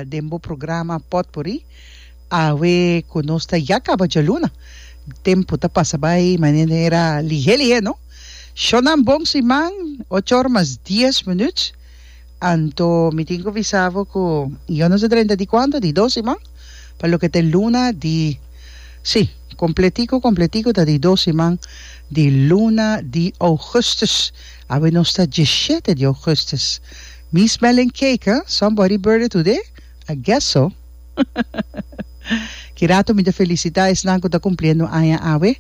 den bo programa Potpourri. Awe ku nos ta ya kaba djaluna. Tempu ta pasa bai manera lihé lihé no. Shonnan bon siman, ocho or mas dies minuut. Anto mi tin ku bisa bo ku yo no sa drenta di kuantu, di dos siman, pa loke ta e luna di, sí, kompletiku kompletiku ta di dos siman di luna di ougùstùs. Awe nos ta dieshete di ougùstùs. Mi smelling cake, huh? Somebody birthday today? I guess so. Ki rato mi ta felicita esnan cu ta cumpliendo aña awe.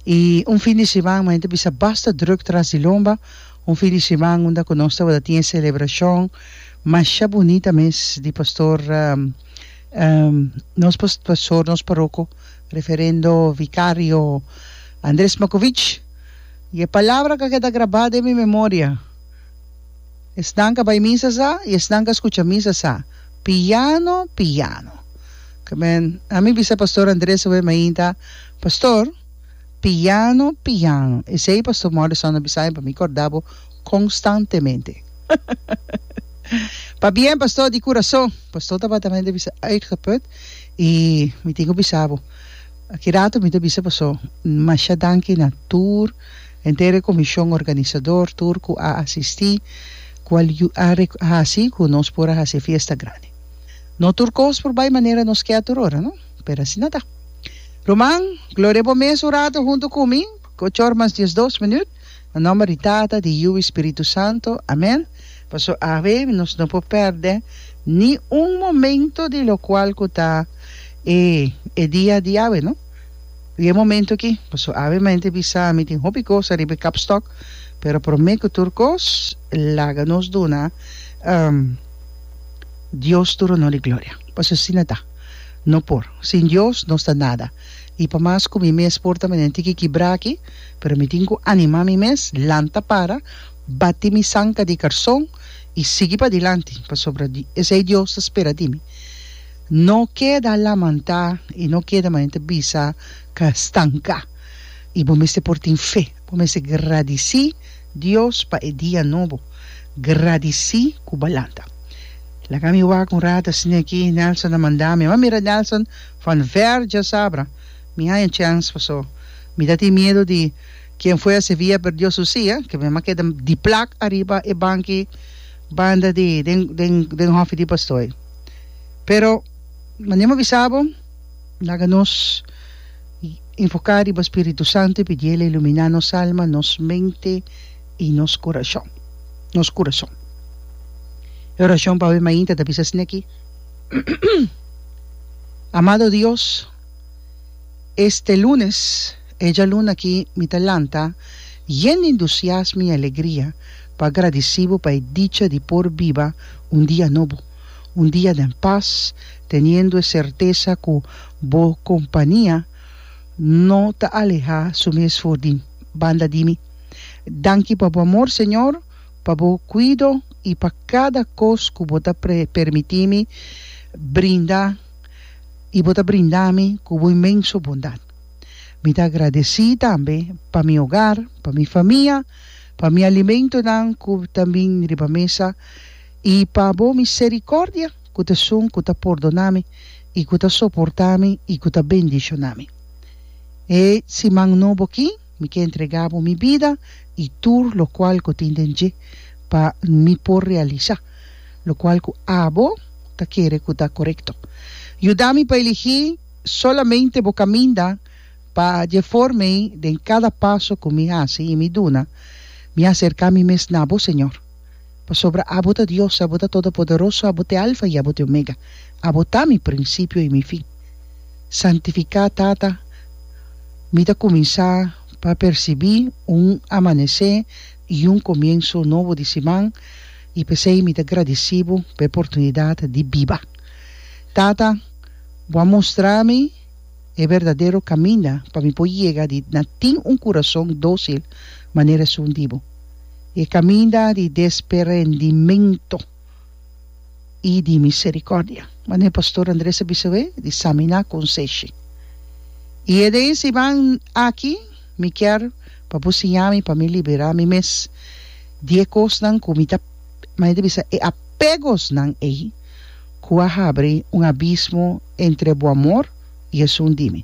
Y un fin di siman mi ta bisa basta druk tras di lomba. Un fin di siman unda cu nos tabata tin e celebracion masha bunita mes di pastor nos pastor nos paroco referendo vicario Andres Makovich. Y e palabra cu a keda graba den mi memoria. Esnan ka bai misa sa y esnan ka scucha misa sa. Piano, piano. Ke men, ami bisa Pastor Andres awe mainta, Pastor, piano, piano. Esey Pastor Morrison a bisa mi pa mi corda bo constantemente. Pabien Pastor di curason. Pastor tabata mente bisa uitgeput y mi tin cu bisa bo. Aki rato mi ta bisa paso masha danki na tur henter e komishon organisador, tur ku a asistí, kual yu a hasi ku nos por a hasi e fiesta grandi. No tur kos por bai manera nos ke a tur ora, no? Pero asina ta. Ruman, gloria bo mes un rato huntu ku mi, ocho or mas diesdos minüt. Na nomber di Tata, di Yu i Spiritu Santo. Amen. Paso awe nos no por pèrdè ni un momento di lokual ku ta e e dia di awe, no? I e momento aki, paso awe mente bisa mi tin hopi kos ariba e kapstok, pero promé ku tur kos laga nos duna Dios tur honor i gloria. Paso asina ta. No por. Sin Dios nos ta nada. I pa mas ku mi mes por ta manera tiki kibrá aki, pero mi tin ku animá mi mes, lanta para, bati mi sanka di karson i sigui padilanti, pasobra esei Dios ta spera di mi. No keda lamantá i no keda manera ta bisa ka stanká. I bo mester por tin fe. Bo mester gradisí Dios pa e dia nobo. Gradisí ku bo a lanta. Laga mi wak un rato asina aki, Nelson a manda mi. Mi a mira Nelson van ver djasabra. Mi haña chèns paso mi ta tin miedu di quien fue a Sevilla perdió su silla, ke mi a keda di plak ariba e banki banda di den den den hòfi di pastoy. Pero manera mi a bisa bo, laga nos enfoká riba Spiritu Santu i pidi El iluminá nos alma, nos mente i nos kurashon, nos kurason. E orashon pa awe mainta ta bisa asina aki, Amado Dios, Este lunes, e djaluna aki mi ta lanta yen di entusiasmo i alegria pa gradisí bo pa e dicha di por biba un dia nobo, un dia den pas, teniendo e sertesa ku bo kompania no ta alehá su mes for di banda di mi. Danki pa bo amor, Señor, pa bo kuido i pa kada kos ku bo ta permití mi brinda. i bo ta brinda mi ku bo inmenso bondat. Mi ta agradesí tambe pa mi hogar, pa mi famia, pa mi alimentonan ku ta bin riba mesa i pa bo miserikòrdia ku ta esun ku ta pordoná mi i ku ta soportá mi i ku ta bendishoná mi. E siman nobo akí mi ke entregá bo mi bida i tur lokual ku tin den dje pa mi por realisá lokual ku abo ta kere ku ta korekto. Yuda mi pa eligí solamente bo kaminda pa dje forma ei den kada paso ku mi hasi i mi duna, mi aserká mi mes na bo, Señor. Pasobra abo ta Dios, abo ta Todopoderoso, abo ta e Alfa i abo ta e Omega. Abo ta mi prinsipio i mi fin. Santifiká, Tata, mi ta kuminsá pa persibí un amanesé i un komienso nobo di siman, i p'esei mi ta gradisí bo pa e oportunidat di biba. Tata, bo a mustra mi e berdadero kaminda pa mi por yega di na tin un kurason dósil manera esun di bo, e kaminda di desperendimentu i di miserikòrdia, manera Pastor Andres a bisa awe, di saminá konseshi. I e den siman aki mi kier pa bo siña mi pa mi liberá mi mes di e kosnan ku mi ta, manera di bisa, e apegosnan ei. ku a habri un abismo entre bo amor i esun di mi.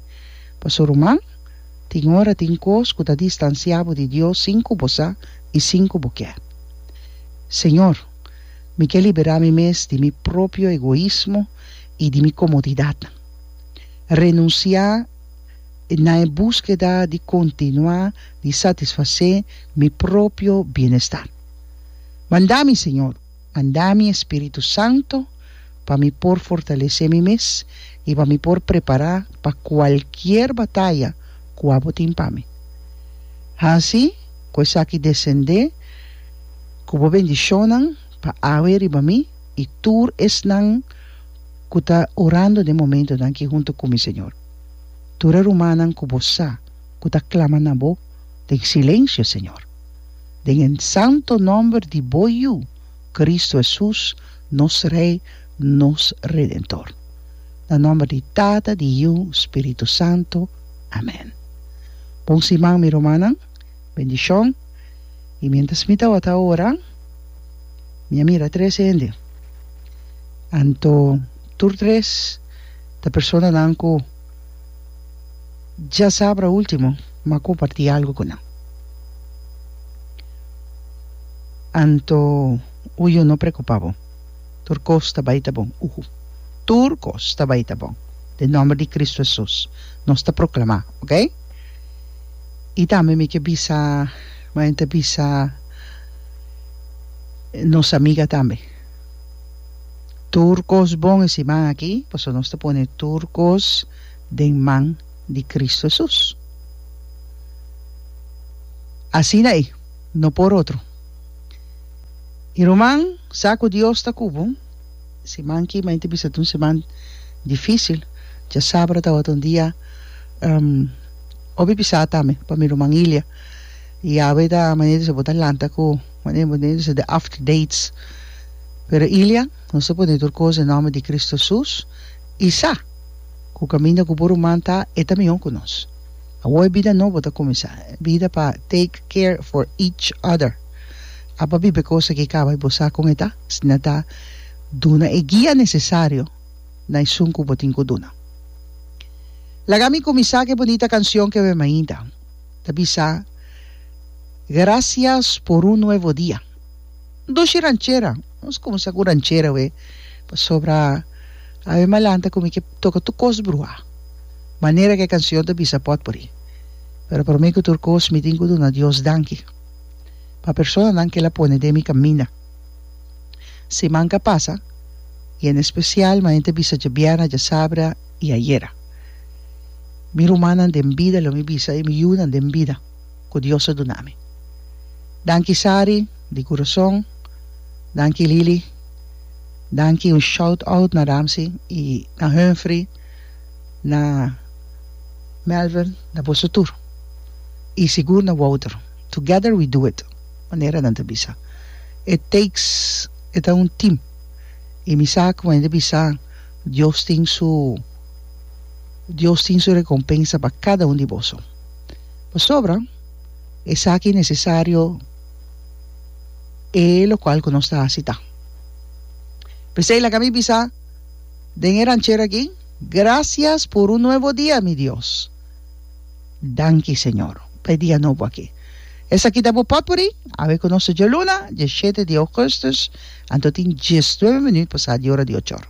Pasobra ruman, tin ora tin kos ku ta distansiá bo di Dios sin ku bo sa i sin ku bo kier. Señor, mi ke liberá mi mes di mi propio egoismo i di mi komodidatnan. Renunsiá na e búskeda di kontinuá di satisfasé mi propio bienestar. Manda mi, Señor, manda mi e Spiritu Santo pa mi por fortalesé mi mes i pa mi por prepará pa kualkier bataya ku abo tin pa mi. Hasi ku esaki desendé ku bo bendishonnan pa awe riba mi i tur esnan ku ta orando den momentonan aki huntu ku mi, Señor. Tur e rumannan ku bo sa ku ta klama na bo den silensio, Señor. Den e santo nòmber di bo Yu, Kristu Hesus, nos Rei, nos Redentor. Na nòmber di Tata, di Yu, Spiritu Santu. Amèn. Bon siman, mi rumannan. Bendishon. I miéntras mi tabata ora, mi a mira tres hende. Anto tur tres ta personanan ku djasabra último mi a kompartí algu ku nan. Anto uyu no preokupá bo, tur kos ta bai ta bon. Uhu, tur kos ta bai ta bon. Den nòmber di Kristu Hesus nos ta proklamá, oke? I tambe mi ke bisa, mi ta bisa nos amiga tambe. Tur kos bon e siman aki, pasobra nos ta pone tur kos den man di Kristu Hesus. Asina ei, no por otro. I ruman, sa ku Dios ta ku bo. Siman aki mi ta bisa ta un siman difísil. Djasabra tabata un dia hopi pisá tambe pa mi ruman Ilia. I awe ta manera di bisa bo ta lanta ku manera bo ta bisa de after dates. Pero Ilia, nos ta pone tur kos den nòmber di Kristu Hesus i sa ku kaminda ku bo ruman ta, e ta mihó ku nos. Awor e bida nobo ta kuminsá, e bida pa take care for each other. Abo a biba e kos aki kaba i bo sa kon e ta, asina ta duna e guia nesesario na esun ku bo tin ku duna. Laga mi kuminsá ku e bunita kansion ke mi mainta ta bisa, Gracias por un nuevo dia. Dushi ranchera. Nos kuminsá ku ranchera awe pasobra awe mi a lanta ku mi ke toka tur kos bruhá. Manera ku e kansion ta bisa pòtpuri. Pero promé ku tur kos mi tin ku duna Dios danki pa personanan ku el a pone den mi kaminda. Siman ku a pasa i en espesial manera ta bisa djabièrnè, djasabra i ayera. Mi rumannan den bida lo mi bisa i mi yunan den bida ku Dios a duna mi. Danki Sari di kurason, danki Lily, danki un shout out na Ramsey i na Humphrey, na Melvin, na boso tur i sigur na Wouter. Together we do it, manera nan ta bisa. It takes, e ta un team i mi sa ku manera ta bisa Dios tin su Dios tin su rekompensa pa kada un di boso. Pasobra. Esaki nesesario e lokual ku nos ta hasi ta. P'esei laga mi bisa den e ranchero aki, Gracias por un nuevo dia, mi Dios. Danki, Señor, pa e dia nobo aki. Esaki ta bo potpourri, awe ku nos ta djaluna, diesshete di ougùstùs, anto tin diesnuebe minüt pasá di ora di ochor.